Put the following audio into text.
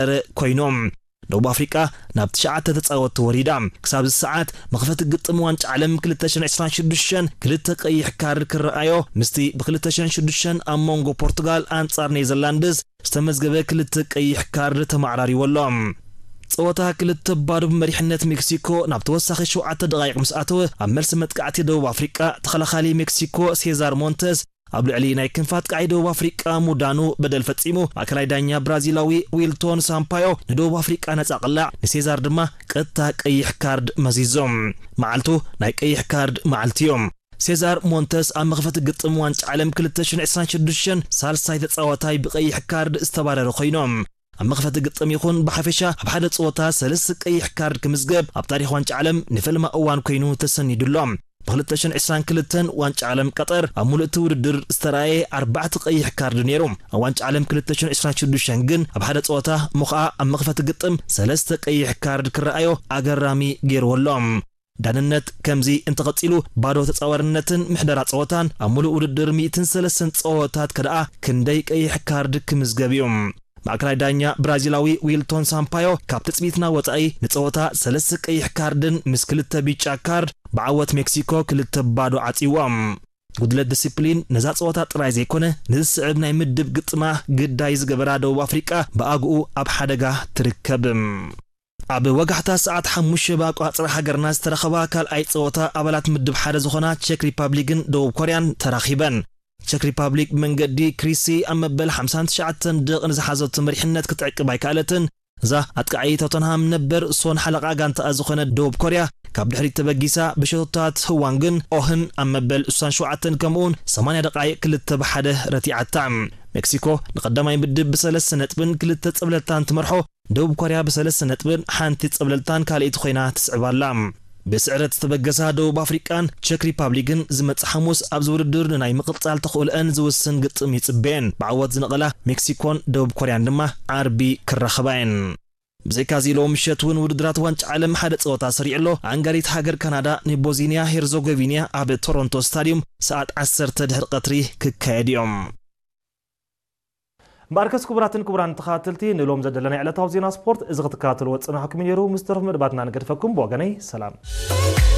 ጸረ ኮይኖም። ደቡብ ኣፍሪቃ ናብ ትሽዓተ ተጻወትቲ ወሪዳ። ክሳብ እዚ ሰዓት መኽፈቲ ግጥም ዋንጫ ዓለም ክልተ ሽሕን ዕስራን ሽዱሽተን ክልተ ቀይሕ ካርድ ክረኣዮ፣ ምስቲ ብ ክልተ ሽሕን ሽዱሽተን ኣብ መንጎ ፖርቱጋል ኣንጻር ኔዘርላንድስ ዝተመዝገበ ክልተ ቀይሕ ካርድ ተመዓራሪዎ ኣሎ። ጸወታ ክልተ ባዶ ብመሪሕነት ሜክሲኮ ናብ ተወሳኺ ሸውዓተ ደቓይቕ ምስ ኣተወ፣ ኣብ መልሲ መጥቃዕቲ ደቡብ ኣፍሪቃ ተኸላኻሊ ሜክሲኮ ሴዛር ሞንተስ ኣብ ልዕሊ ናይ ክንፋት ቃዒ ደቡብ ኣፍሪቃ ሙዳኑ በደል ፈጺሙ፣ ማእከላይ ዳኛ ብራዚላዊ ዊልቶን ሳምፓዮ ንደቡብ ኣፍሪቃ ነጻ ቅላዕ፣ ንሴዛር ድማ ቀጥታ ቀይሕ ካርድ መዚዞም። መዓልቱ ናይ ቀይሕ ካርድ መዓልቲ እዩ። ሴዛር ሞንተስ ኣብ መኽፈቲ ግጥም ዋንጫ ዓለም ክልተ ሽሕን ዕስራን ሽዱሽተን ሳልሳይ ተጻዋታይ ብቀይሕ ካርድ ዝተባረሩ ኮይኖም። ኣብ መኽፈቲ ግጥም ይኹን ብሓፈሻ ኣብ ሓደ ጸወታ ሰለስተ ቀይሕ ካርድ ክምዝገብ ኣብ ታሪኽ ዋንጫ ዓለም ንፈለማ እዋን ኮይኑ ተሰኒዱ ኣሎ። ብ ክልተ ሽሕን ዕስራን ክልተን ዋንጫ ዓለም ቀጠር ኣብ ሙሉእ እቲ ውድድር ዝተራእየ ኣርባዕተ ቀይሕ ካርድ ነይሩ። ኣብ ዋንጫ ዓለም ክልተ ሽሕን ዕስራን ሽዱሽተን ግን ኣብ ሓደ ጸወታ እሞ ኸኣ ኣብ መኽፈቲ ግጥም ሰለስተ ቀይሕ ካርድ ክረኣዮ ኣገራሚ ገይርዎ ኣሎ። ዳንነት ከምዚ እንተቐጺሉ ባዶ ተጻዋርነትን ምሕደራ ጸወታን ኣብ ሙሉእ ውድድር ሚእትን ሰለስተን ጸወታት ከደኣ ክንደይ ቀይሕ ካርድ ክምዝገብ እዩ? ማእከላይ ዳኛ ብራዚላዊ ዊልቶን ሳምፓዮ ካብ ትጽቢትና ወጻኢ ንጸወታ ሰለስተ ቀይሕ ካርድን ምስ ክልተ ቢጫ ካርድ ብዓወት ሜክሲኮ ክልተ ባዶ ዓጺዎም። ጉድለት ዲሲፕሊን ነዛ ጸወታ ጥራይ ዘይኮነ ንዝስዕብ ናይ ምድብ ግጥማ ግዳይ ዝገበራ ደቡብ ኣፍሪቃ ብኣግኡ ኣብ ሓደጋ ትርከብ። ኣብ ወጋሕታ ሰዓት ሓሙሽተ ብኣቆጻጽራ ሃገርና ዝተረኸባ ካልኣይ ጸወታ ኣባላት ምድብ ሓደ ዝኾና ቸክ ሪፓብሊክን ደቡብ ኮርያን ተራኺበን። ቸክ ሪፓብሊክ ብመንገዲ ክሪሲ ኣብ መበል ሓምሳን ትሽዓተን ደቕ ንዝሓዘቶ መሪሕነት ክትዕቅብ ኣይከኣለትን። እዛ ኣጥቃዒ ቶተንሃም ነበር ሶን ሓለቓ ጋንታኣ ዝኾነ ደቡብ ኮርያ ካብ ድሕሪት ተበጊሳ ብሸቶታት ህዋንግን ኦህን ኣብ መበል ስሳን ሸውዓተን ከምኡውን ሰማንያ ደቓይቕ ክልተ ብሓደ ረቲዓታ። ሜክሲኮ ንቐዳማይ ምድብ ብሰለስተ ነጥብን ክልተ ጸብለልታን ትመርሖ፣ ደቡብ ኮርያ ብሰለስተ ነጥብን ሓንቲ ጸብለልታን ካልኣይቲ ኮይና ትስዕብ ኣላ። ብስዕረት ዝተበገሳ ደቡብ ኣፍሪቃን ቸክ ሪፓብሊክን ዝመጽእ ሓሙስ ኣብዚ ውድድር ንናይ ምቕጻል ተኽእሎኣን ዝውስን ግጥም ይጽበየን። ብዓወት ዝነቐላ ሜክሲኮን ደቡብ ኮርያን ድማ ዓርቢ ክራኸባ እየን። ብዘይካዚ ሎም ምሸት እውን ውድድራት ዋንጫ ዓለም ሓደ ጸወታ ሰሪዑ ኣሎ። ኣንጋሪት ሃገር ካናዳ ንቦዝኒያ ሄርዞጎቪንያ ኣብ ቶሮንቶ ስታድዩም ሰዓት ዓሰርተ ድሕሪ ቀትሪ ክካየድ እዮም። እምበኣርከስ ክቡራትን ክቡራን ተኸታተልቲ ንሎም ዘደለናይ ዕለታዊ ዜና ስፖርት እዚ ክትከታተልዎ ዝጸናሕኩም እዩ ነይሩ። ምስ ተረፉ መደባትና ንገድፈኩም። ብወገነይ ሰላም።